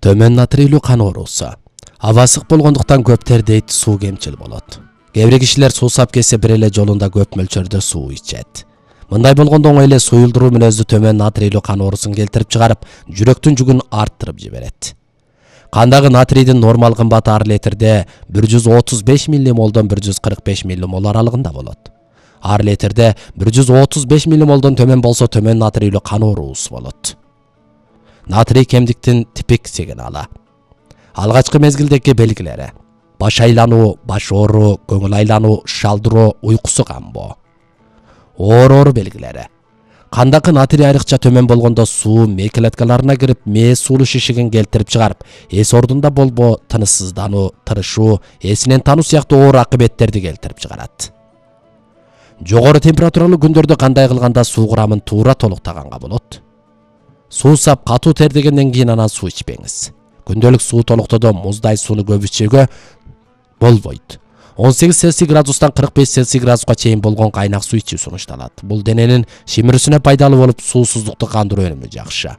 Төмөн натрийлүү кан оорусу. Аба ысык болгондуктан көп тердейт, суу кемчил болот. Кээ бир кишилер суу сап келсе бир эле жолунда көп мөлчөрдө суу ичет. Мындай болгондо оңой эле суюлдуруу мүнөздүү төмөн натрийлүү кан оорусун келтирип чыгарып, жүрөктүн жүгүн арттырып жиберет. Кандагы натрийдин нормал кымбаты ар литрде 135 миллимолдон 145 миллимол аралыгында болот. Ар литрде 135 миллимолдон төмөн болсо төмөн натрийлүү кан оорусу болот. Натрий кемдиктин типик сигналы. Алгачкы мезгилдеги белгилери: баш айлануу, баш оору, көңүл айлануу, шалдыроо, уйкусу камбоо. Оору белгилери: кандагы натрий айрыкча төмөн болгондо суу мээ клеткаларына кирип, мээ сулуу шишигин келтирип чыгарып, эс ордунда болбоо, тынычсыздануу, тырышуу, эсинен таануу сыяктуу оор акыбеттерди келтирип чыгарат. Жогору температуралуу күндөрдө кандай кылганда суу курамын туура толуктаганга болот? Суу сап катуу тердегенден кийин анан суу ичпеңиз. Күндөлүк суу толуктоодо муздай сууну көп ичүүгө болбойт. 18 Цельсий градустан 45 Цельсий градуска чейин болгон кайнак суу ичүү сунушталат. Бул дененин шимирүүсүнө пайдалуу болуп, суусуздукту кандыруу өнүмү жакшы.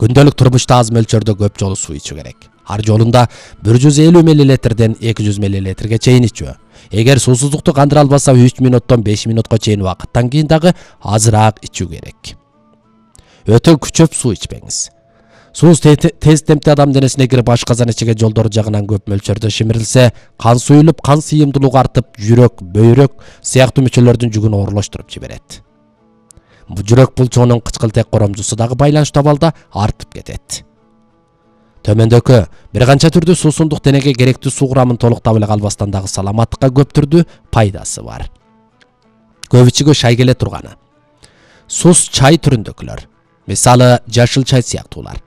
Күндөлүк турмушта аз мөлчөрдө көп жолу суу ичүү керек. Ар жолунда 150 мл 200 мл чейин ичүү. Эгер суусуздукту кандыра албаса 3 минуттан 5 минутка чейин убакыттан кийин дагы азыраак ичүү керек. Өтө күчөп суу ичпеңиз. Суу тез темпте адам денесине кирип, ашказан ичиге жолдору жагынан көп мөлчөрдө шимирилсе, кан суюлуп, кан сыйымдуулугу артып, жүрөк, бөйрөк сыяктуу мүчөлөрдүн жүгүн оорлоштуруп жиберет. Жүрөк булчугунун кычкылтек коромжусу дагы байланыштуу абалда артып кетет. Төмөндөгү бир канча түрдүү суусундук денеге керектүү суу курамын толуктап эле калбастан дагы саламаттыкка көп түрдүү пайдасы бар. Көп ичүүгө шай келе турганы. Сус чай түрүндөгүлөр. Мисалы, жашыл чай сыяктуулар.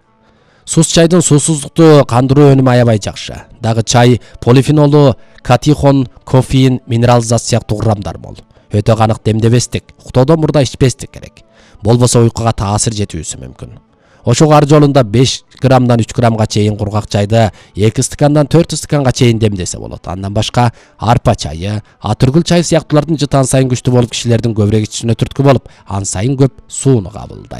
Сус чайдын суусуздукту кандыруу өнүмү аябай жакшы. Дагы чай полифенолу, катихон, кофеин, минерал зат сыяктуу курамдар мол. Өтө канык демдебестик, уктоодон мурда ичпестик керек. Болбосо уйкуга таасир жетүүсү мүмкүн. Ошого ар жолунда 5 граммдан 3 граммга чейин кургак чайды 2 стакандан 4 стаканга чейин демдесе болот. Андан башка арпа чайы, атүргүл чай сыяктуулардын жытан сайын күчтүү болуп, кишилердин көбүрөөк ичүүсүнө түрткү болуп, ан сайын көп сууну кабылдайт.